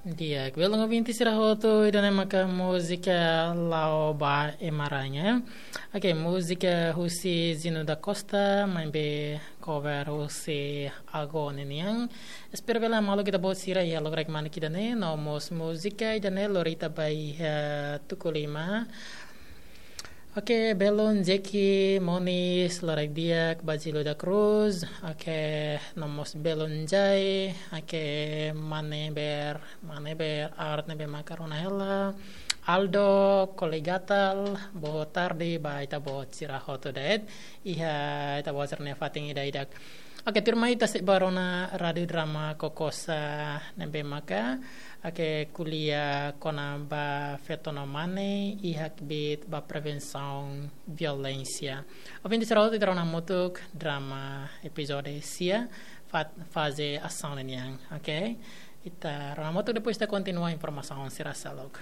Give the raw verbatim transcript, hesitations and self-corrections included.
Di'ak, belun ouvinte sira hotu, ida-ne'e maka múzika La'o ba Ema Raña. Ok, múzika husi Zino da Costa, maibé cover husi Ago ninian. Espera bele maluk ita-boot sira iha lokraik manik ida-ne'e, no mós múzika ida-ne'e lori ita ba iha tuku lima. Ok, belun Jeki Moniz, loraik di'ak, Basilio da Cruz. Ok, no mós belun Jai. Ok, mane ber, mane ber, art ne'ebé maka rona hela. Aldo Koligatal, boa tarde ba ita-boot sira hotu de'it. Iha ita-boot sira-nia fatin ida-idak. Ok, tuirmai ita sei ba rona Rádio Drama Kokosa ne'ebé maka, ok, ko'alia kona-ba feto no mane iha kbiit ba prevensaun violénsia. Ouvinte sira hotu, ita rona hamutuk drama epizódiu sia, fa-, faze asaun ninian, ok? Ita rona hamutuk, depois ita kontinua informasaun sira seluk.